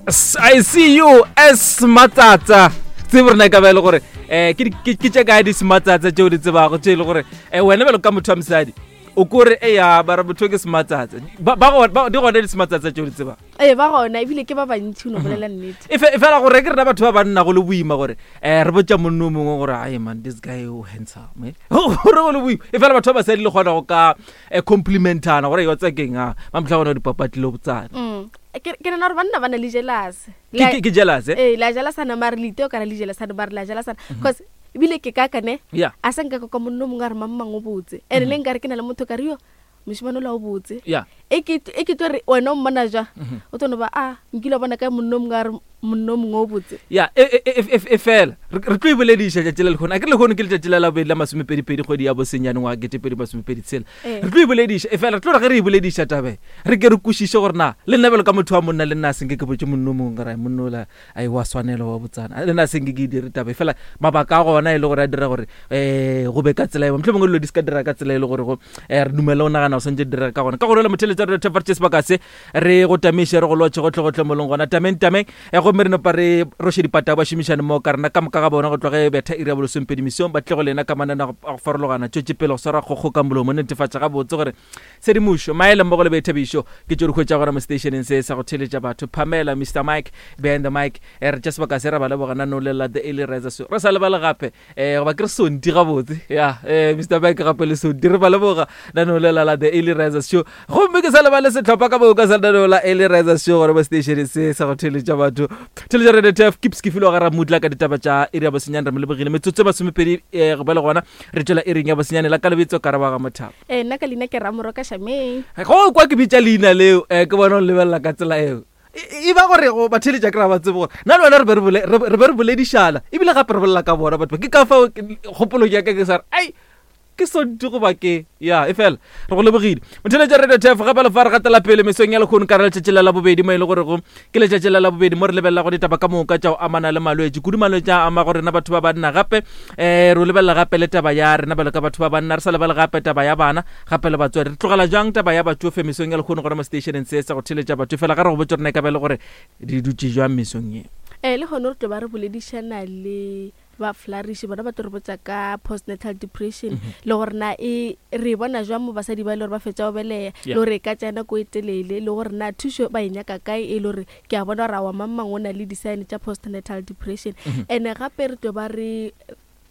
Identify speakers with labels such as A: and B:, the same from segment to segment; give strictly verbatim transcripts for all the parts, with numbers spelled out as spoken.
A: I see you as matsatsa. Tsebe rena e ka ba e le gore um ke tše kae di-sematsatsa tšeo di tsebago tše e le gore um wena bjalo ka motho wa mosadi o kore eya bara motho ke sematsatsa. Ba- ba gona- ba- di gona di-sematsatsa tšeo di tsebang?
B: Ee, ba gona, ebile ke ba bantši, o no bolela nnete.
A: E fe- e fela gore ke rena batho ba banna go le boima gore um re botša monno o mongwe gore ai man, this guy o handsome, eh. Gore go le boima, e fela batho ba basadi le kgona go ka um complimentana gore yo tsakeng a mamtlha gona dipapatlile botsana.
B: Mm. ke ke nana gore banna ba na le jealous.
A: Ke- ke ke jealous, eh?
B: Ee, la jealousana, mare le iteo kana le jealousana, mare la jealousana cause ebile ke ka kane
A: Yeah.
B: a sa nka ka monno mongwe a re mang mang o botse, and le nkare ke na le motho ka re yo mošimane ola o botse.
A: Yeah.
B: E ke e ke tlo re wena o mmona jwa o tlo no ba a nkile wa bona kae monno mongwe a re monno mongwe o botse.
A: Ya, e e- e- e- e fela re re tlo e bolediša tšatši le lekgono, a ke re lekgono ke letšatši la labobedi la masomepedipedi kgwedi ya bosenyane ngwaga ketepedi masomepedi tshela.
B: Ee.
A: Re tlo e bolediša, e fela re tlo re ge re e bolediša tabe re ke re kwešiše gore na le nna bjalo ka motho wa monna le nna a senke ke botse monno o mongwe gore monno ola ai wa swanela wa botsana, le nna a senke ke e dire taba, e fela mabaka a gona e le gore a dira gore um go be ka tsela eo, motlho mongwe dilo di se ka dira ka tsela e le gore go um re dumele o nagana go swantse di dira ka gona. Ka gore le motheletsa re thefa sebaka se re go tamiše re go lotšhe gotlhe-gotlhe mo leng gona tameng tameng, um gomme re nopa re roše dipata ba šomišane mo ka rena ka moka ga bona go tloge betha iri ya bolesomepedi mesong ba tle go lena ka manana a go farologana tšwetše pele go swara kgokgo ka molomo netefatša gabotse gore tshedimošo maele mmogo le boithabišo ke tšo di hwetša gona mo stationeng se sa go theletša batho. Pamela, Mister Mike behind the mic, eh, re tša sebaka se ra ba leboga nano lela the early riser so re sa lebale gape um goba ke re sonti gabotse ya um Mister Mike gape le sonti re ba leboga nano lela la the early risers show, gomme ke sa lebale setlhopha ka moka sa lenaneo la early risers show gore mo stationeng se sa go theletša batho theletša Radio T F keeps ke filo ga ramutla ka ditaba tša iri ya bosenyane. Re mo lebogile metsotso e masomepedi um go ba le gona re tšwela iring ya bosenyane la ka lebitso ka rabaga mothabo.
B: Ee, nna ka leina ke Ramoroka Shameng.
A: Go kwa ke bitša leina leo um ke bona o lebelela ka tsela eo e e ba gore go batheletša ke ra ba tsebe gore nna le wena re be re bole- re re be re boledišana ebile gape re bolela ka bona batho ba. Ke ka fao ke- kgopolong ya ka ke sa re ai ke sonti goba ke ya, e fela re go lebogile motheletša Radio T F gape le fa re gatela pele mesong ya lekgono ka re letšatši la labobedi mo e le gorego ke letšatši la labobedi mo re lebelela go ditaba ka moka tša go amana le malwetši kudu malwetši a ama go rena batho ba banna, gape um re lebelela gape le taba ya rena bjalo ka batho ba banna, re sa lebale gape taba ya bana gape le batswadi. Re tlogela jang taba ya batsofe mesong ya lekgono gore mo stationeng se sa go theletša batho fela ga re go botse rena e ka ba e le gore di dutše jwang mesong ye?
B: Ee, le gone re tlo ba re boledišana le ba Flourish, bona ba tlo re botsa ka postnatal depression le gore na e re e bona jwang mo basadi ba e le gore ba fetsa go beleya,
A: Yeah.
B: le gore e ka tsaya nako e telele, le gore na thušo ba e nyaka kae, e le gore ke a bona gore awa mang mang o na le di-sign tša postnatal depression. And gape re tlo ba re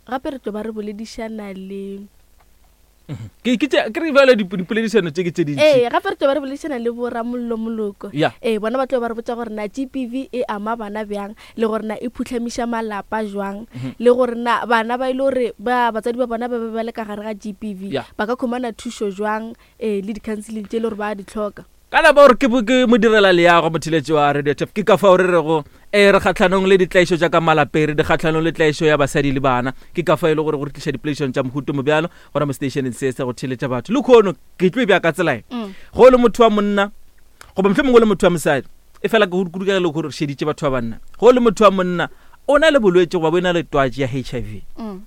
B: gape re tlo ba re boledišana le
A: ke ke tše- ke re bjale dip- dipoledišano tše ke tše dintši.
B: Ee, gape re tlo ba re boledišana le boramollo moloko.
A: Ya.
B: Ee, bona ba tlo ba re botsa gore na G B V e ama bana bjang, le gore na e phutlhamiša malapa jwang, le gore na bana ba e le gore ba batswadi ba bona ba be ba le ka gare ga G B V
A: Ya.
B: ba ka khumana thušo jwang, um le di-counselling tše e le gore ba di tlhoka.
A: Ka napa gore ke bo- ke modirela leago motheletši wa Radio T F, ke ka fao re rego e re kgatlhanong le ditlaišo tša ka malapeng, re di kgatlhanong le tlaišo ya basadi le bana, ke ka fao e le gore go re tliša dipoledišano tša mohuto mo bjalo gona mo stationeng se sa go theletša batho. Le kgono ke tlo e bja ka tsela e
B: Mm.
A: go le motho wa monna goba mohlomongwe mongwe le motho wa mosadi, e fela ke kudu ka ge le gore re šeditše batho ba banna, go le motho wa monna o na le bolwetši goba bo e na le twatši ya H I V,
B: Mm.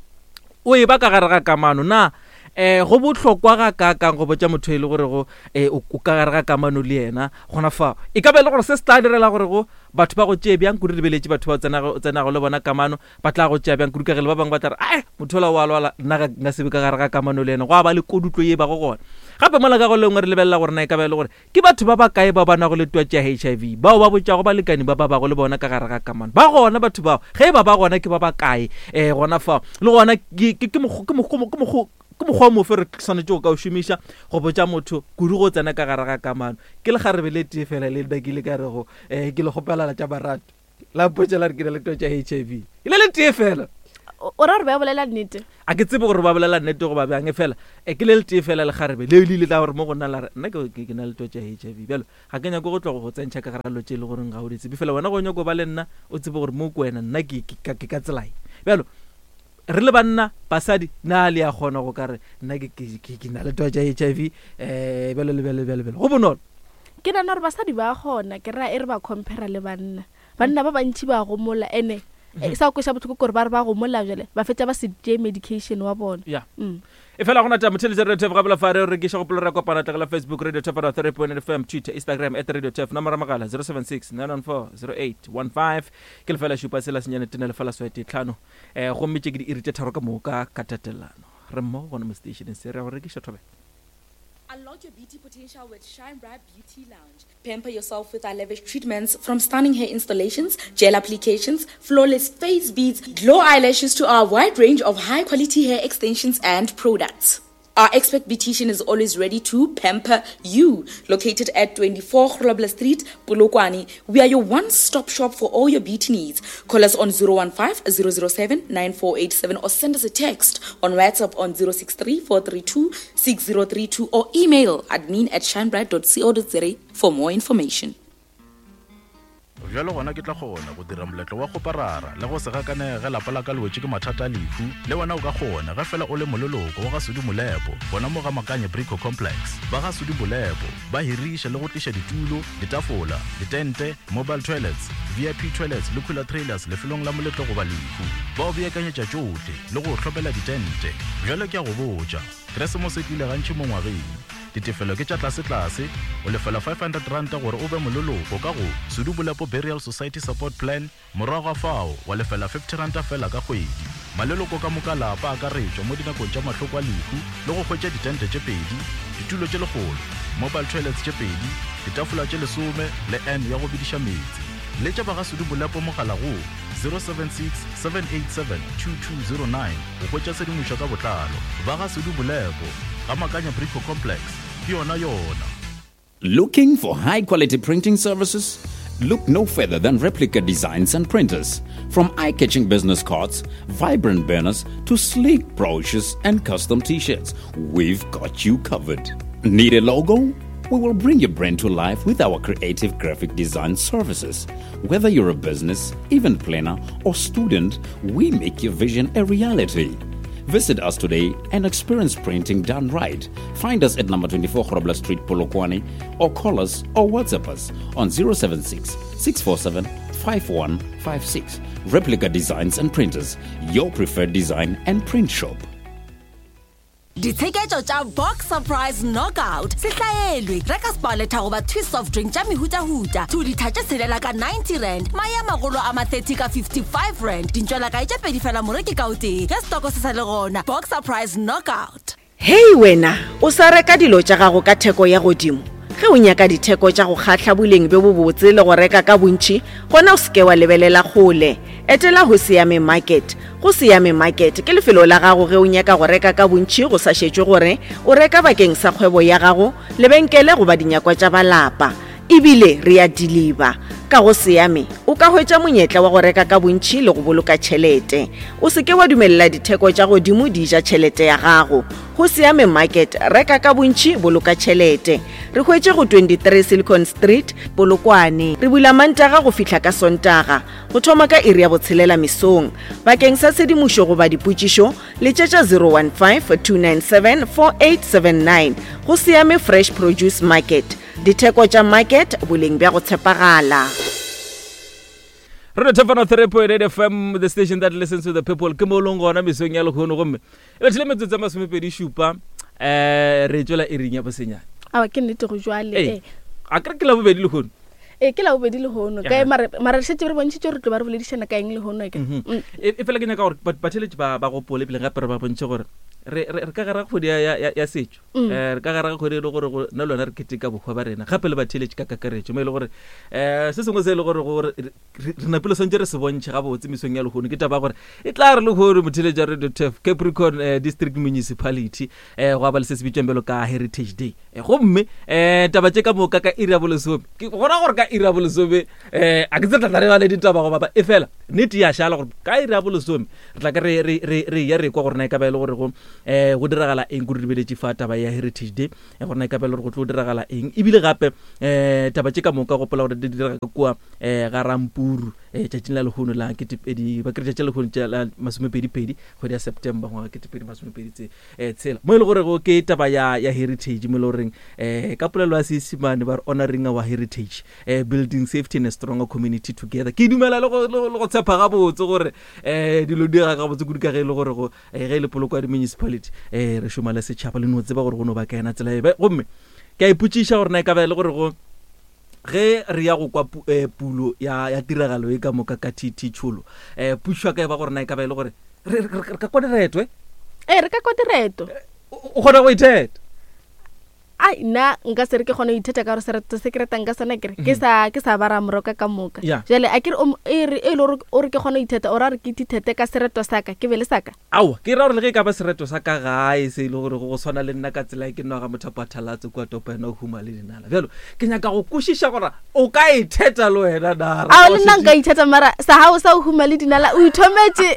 A: o e ba ka gare ga kamano, na um go bohlokwa ga kaakang go botša motho e le gore go um o ka gare ga kamano le yena gona fao? E ka ba e le gore se se tla direla gore go batho ba go tšee bjang kudu, lebeletše batho ba o tsenago o tsenago le bona kamano ba tla go tšea bjang kudu, ka ge le ba bangwe ba tla re ae motho ola o a lwala, nna ga nka sebe ka gare ga kamano le yena, go a ba le kodutlo ye ba go gona. Gape mola ka go lengwe re lebelela gore na e ka ba e le gore ke batho ba ba kae ba ba nago le twatši ya H I V bao ba botšago balekani ba ba bago le bona ka gare ga kamano? Ba gona batho bao? Ge e ba ba gona, ke ba ba kae um gona fao? Le gona ke ke- ke mokgo- ke mokgo- ke mokgo- ke mokgwa o mofe re swanetše go ka o šomiša go botša motho kudu go tsena ka gare ga kamano? Ke lekgarebe le tee fela le nna ke ile ka rego um ke le kgopelala tša marato la mpotša la re ke na le twatši ya H I V, e le le tee fela.
B: O o ra gore ba bolela nnete?
A: A ke tsebe gore ba bolela nnete goba bjang, e fela e ke le le tee fela lekgarebe leo le ile la gore mo go nna la re nna ke ke- ke na le twatši ya H I V, bjalo ga ke nyako go tlogo go tsentšha ka gare ga dilo tše e le goreng ga o di tsebe, fela wena go nyako ba le nna o tsebe gore mo ko wena nna ke ke ka ke ka tsela e bjalo. Re le banna basadi na le ya kgona go ka re nna ke ke ke- ke na le twatši ya H I V um bjalo le bjalo le bjalo bjalo go bonolo?
B: Ke nana gore basadi ba kgona, ke ra e re ba compara le banna, banna ba bantši ba gomola ene Eh, sa go kweša bohloko kore ba re ba gomola jale ba fetša ba se tšee medication wa bona.
A: Ya.
B: Mm.
A: E fela gona ta motheletša Radio Turf gabela fa re rekiša gopolo ra kopana tlogela Facebook Radio Turf three point F M, Twitter, Instagram at Radio Turf, nomoro ya mogala zero seven six nine one four zero eight one five ke lefela šupa sela senyane tene lefela swete tlhano. Eh gomme tše ke di iri tše tharo ka moka ka tatelano. Re mmogo gona mo stationeng se re ya go rekiša thobela.
C: Unlock your beauty potential with Shine Bright Beauty Lounge. Pamper yourself with our lavish treatments, from stunning hair installations, gel applications, flawless face beads, glow eyelashes to our wide range of high-quality hair extensions and products. Our expert beautician is always ready to pamper you. Located at twenty-four Grobler Street, Polokwane, we are your one-stop shop for all your beauty needs. Call us on zero one five, zero zero seven, nine four eight seven or send us a text on WhatsApp on zero six three, four three two, six zero three two or email admin at shinebright dot co dot za for more information.
D: Bjalo gona ke tla kgona go dira moletlo wa go parara le go se gakanege ge lapa la ka le wetše ke mathata a lehu. Le wena o ka kgona ge fela o le moleloko wa ga Sudi Molepo, gona mo ga Makanye Brico Complex. Ba ga Sudi Molepo ba hiriša le go tliša ditulo, ditafola, ditente, mobile toilets, V I P toilets le cooler trailers lefelong la moletlo goba lehu. Ba o beakanyetša tšohle le go hlopela ditente. Bjalo ke a go botša, Keresemose e tlile gantši mo ngwageng. Ditefelo ke tša tlase-tlase, o lefela five hundred rand gore o be moleloko ka go Sudi Molepo Burial Society Support Plan, morago ga fao wa lefela fifty rand fela ka kgwedi. Maleloko ka moka lapa a akaretšwa mo dinakong tša mahloko a lehu le go hwetša ditente tše pedi, ditulo tše lekgolo, mobile toilets tše pedi, ditafola tše lesome le N ya go bediša meetse. Letša ba ga Sudi Molepo mogala go zero seven six, seven eight seven, two two zero nine go hwetša tshedimošo ka botlalo. Ba ga Sudi Molepo, ga Makanya Brico Complex, ke yona yona.
E: Looking for high quality printing services? Look no further than Replica Designs and Printers. From eye-catching business cards, vibrant banners, to sleek brochures and custom t-shirts, we've got you covered. Need a logo? We will bring your brand to life with our creative graphic design services. Whether you're a business, event planner, or student, we make your vision a reality. Visit us today and experience printing done right. Find us at number twenty-four Grobler Street, Polokwane, or call us or WhatsApp us on zero seven six, six four seven, five one five six. Replica Designs and Printers, your preferred design and print shop.
F: Ditsheketšo tša Box Surprise Knockout se hlaelwe. Reka Sparletta goba Twist soft drink tša mehutahuta two litha tše tshelela ka ninety rand, mae a magolo a ma thirty ka fifty-five rand, dintšwelakae tše pedi fela moreki ka o tee ge stoko se sa le gona. Box Surprise Knockout.
G: Hei wena, o sa reka dilo tša gago ka theko ya godimo. Ge o nyaka ditheko tša go kgahla boleng bjo bobotse le go reka ka bontši, gona o seke wa lebelela kgole. Etela go Siame Market. Go Siame Market ke lefelo la gago ge o nyaka go reka ka bontši go sa šetšwe gore o reka bakeng sa kgwebo ya gago, lebenkele goba dinyakwa tša balapa. Ebile re a deliver. Ka go Siame o ka hwetša monyetla wa go reka ka bontši le go boloka tšhelete. O seke wa dumelela ditheko tša godimo di ja tšhelete ya gago. Go Siame Market, reka ka bontši, boloka tšhelete. Re hwetše go twenty-three Silicon Street, Polokwane. Re bula Mantaga go fihla ka Sontaga, go thoma ka iri ya botshelela mesong. Bakeng sa tshedimošo goba dipotšišo, letšetša zero one five, two nine seven, four eight seven nine. Go Siame Fresh Produce Market. Ditheko tša market, boleng bja go tshepagala.
A: Radio Turf three point eight F M, the station that listens to the people. Ke mo leng gona mesong ya lehono gomme e bethile metsotso e masomepedi šupa, eh, re tšwela iring ya bosenyane.
B: Aowa, ke nnete go jwale,
A: Ee,
B: eh.
A: a ke re ke la bobedi lehono?
B: Ee, ke la bobedi lehono.
A: Ya.
B: Kae, mare, mare re šetše re bontšhitše gore re tlo ba re boledišana ka eng lehono, ke?
A: Mhm.
B: Mm.
A: E, e fela ke nyaka gore ba-, batheeletši ba, ba gopole pele gape re ba bontšhe gore re, re, re ka gare ga kgwedi ya, ya, ya, ya setšo.
B: Mm.
A: Eh, re ka gare ga kgwedi e le gore go, nna le wena re keteka bohwa ba rena, gape le batheeletši ka kakaretšo, mo e le gore, eh, se sengwe se e le gore gore re, re, re napile swantše re se bontšhe gabotse mesong ya lehono, ke taba ya gore e tla re lehono motheeletši wa Radio Turf, Capricorn, eh, District Municipality, eh, go ba le se se bitswang bjalo ka Heritage Day. Eh, gomme, eh, taba tše ka moka ka iri ya bolesome, ke gona gore ka iri ya bolesome, eh, a ke tse tla tla re ba le ditaba go bapa, e fela nnete ya šala gore ka iri ya bolesome re tla ke re, re, re, re ya re kwa gore na e ka ba e le gore go, eh, go diragala eng, go re lebeletše fa taba ya Heritage Day, eh, gore na e ka ba e le gore go tlo diragala eng. Ebile gape, eh, taba tše ka moka gopola gore di direga ka kua, eh, ga Rampuru, um tšatšing la lehono la ketepedi ba kere tšatši la lehono tša la masomepedipedi kgwedi ya September ngwaga ketepedi masomepedi tse um tshela mo e le gorego ke taba ya ya heritage mo e le goreng um ka polelo ya Seesimane ba re honoring our heritage um building safety and a stronger community together. Ke dumela le go le go- le go tshepa gabotse gore um dilo di ga gabotse kudu ka ge e le gore go eh, ge e le poloko ya di-municipality um re šoma le setšhaba le no tseba gore go no ba ka ena tsela ebe. Gomme ke a ipotšiša gore na e ka ba e le gore go ge re ya go kwa pu- eh, pulo ya ya tiragalo e ka moka ka T T Tšholo, um pušo ya ka e ba gore na e ka ba e le gore re re- re ka kwa direto e
B: Ee, re ka kwa direto.
A: O o kgona go itheta?
B: Ai, nna nka se re ke kgone go itheta ka gore sereto se ke retang ka sona kere ke sa ke sa ba Ramoroka ka moka.
A: Yeah.
B: Jale a kere o m- e re e le gore o re ke kgone go itheta, o ra re ke ithete ka sereto sa ka, ke be le sa ka.
A: Aowa, ke ra gore le ge e ka ba sereto sa ka gae se e le gore go go tshwana le nna ka tsela e ke nwa ga mothapo a thalatse kua topo ena o huma le dinala bjalo ke nyaka go kwešiša gore o ka itheta le wena na?
B: Ao, le nna nka itheta, mara sa gago sa o huma le dinala o ithometse.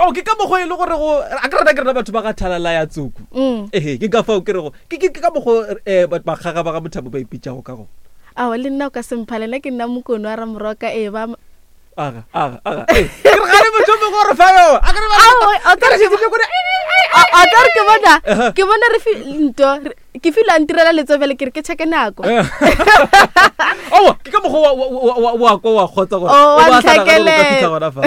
A: O ke ka mokgwa e le gore go a ke rena ke rena batho ba ga thalala ya tsoku.
B: Mm.
A: Ehe, ke ka fao ke rego ke ke- ke ka mokgwa um bakgaga ba ga mothapo ba ipitšago ka go.
B: Ao, le nna o ka semphale, nna ke nna mokone wa Ramoroka, ee ba.
A: Aga aga aga, ee, ke re gane motho o mongwe gore fa yo a ke re ba-
B: Ao, o
A: ke re
B: tla re-
A: šetše ke re-
B: A- a tla re ke bona ke bona re fi- nto re- ke file a ntirela letsofele, ke re ke checke nako.
A: Aowa, ke ka mokgwa wa- wa- wa- wa kwa wa kgotsa gore
B: Oh, wa
A: o ba sa nagane gore o ka
B: ntlhakelela.
A: fitlha gona fa.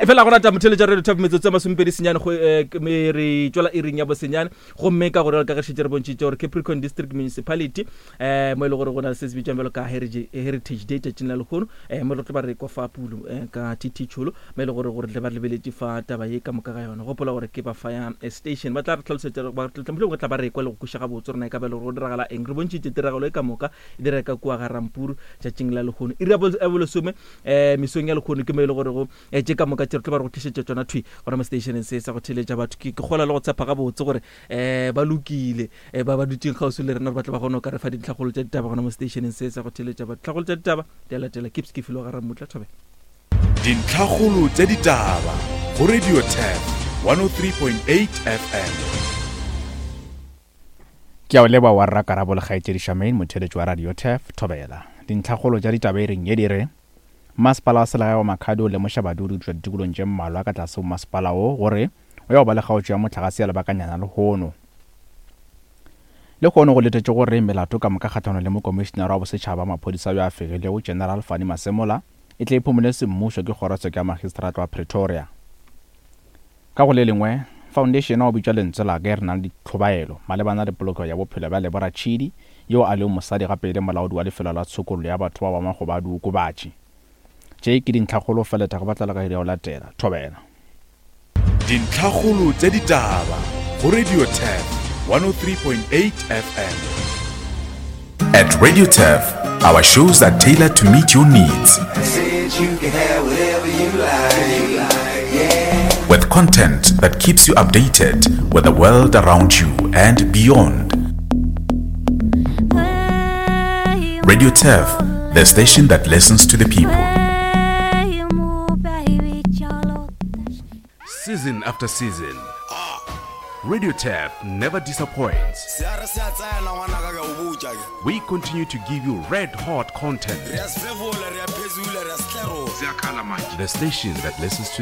A: E fela go rata motheletša radio top metsotso ya masomepedi senyane go eh, ke- me re tswela iring ya bosenyane. Gomme ka gore ka ge šetse re bontšhitše gore Capricorn District Municipality um mo e le gore go na le se se bitswang bjalo ka heritage Heritage Day tšatšing la lehono, um mo re tlo ba re kwa fa pulo um ka T T Tšholo, mo e le gore gore tle ba re lebeletše fa taba ye ka moka ga yona. Gopola gore ke ba fire eh, station ba tla re tlhalosetša, ba tla mohlomongwe tla ba re kwa le go kweša gabotse gore na e ka ba e le gore go diragala eng. Re bontšhitše tiragalo e ka moka e direga ka kua ga Rampuru tšatšing la lehono iri ya bol- ya bolesome um mesong ya lehono. Ke mo e le gore go eh, tše ka moka tše re tlo ba re go tlišetša tšona thwi gona mo stationeng se sa go theletša batho. Ke ke kgola le go tshepa gabotse gore um ba lokile um ba ba dutseng kgauswi le rena gore ba tla ba kgone go ka re fa dintlhakgolo tša ditaba gona mo stationeng se sa go theletša batho. Tlhakgolo tša ditaba di a latela. Keeps ke filo ga Ramutla thobe.
H: Dintlhakgolo tša ditaba go Radio Turf one oh three point eight F M.
D: Ke a o leba wa rrakarabo le kgaetšedi Shamain, motheletši wa Radio Turf, thobela. Dintlhakgolo tša ditaba e reng ye di re masepala wa selegae wa Makhado o lemoša badudi go tšwa ditikolong tše mmalwa ka tlase go masepala wo gore o ya go ba le kgaotšo ya mohlagase ya lebakanyana lehono. Lehono go letetše gore melato ka moka kgatlhanong le mokomišenara wa bosetšhaba wa maphodisa yo a fegilego General Fannie Masemola e tle e phumole semmušo ke kgorotsheko ya magistrata wa Pretoria. Ka go le lengwe, foundation wa bitšwa Lentswe la Ka e re nang le ditlhobaelo malebana le polokego ya bophelo bja Lebora Tshidi, yo a lego mosadi gape e le molaodi wa lefelo la tshokollo ya batho ba ba makgoba a diokobatši. Tše ke dintlhakgolo feleta go batlela ka iri ya go latela. Thobela.
H: Dintlhakgolo tša ditaba go Radio Turf one oh three point eight F M. At Radio Turf, our shows are tailored to meet your needs.
I: Said you can have whatever you like. Yeah.
H: With content that keeps you updated with the world around you and beyond. Radio Turf, the station that listens to the people.
J: Season after season, Radio Turf never disappoints.
I: Se a re se a tsena ngwanaka, ke a o botša ke.
J: We continue to give you red hot content.
I: Re a sefefola, re a phezula, re a setlerola.
J: The station that listens to the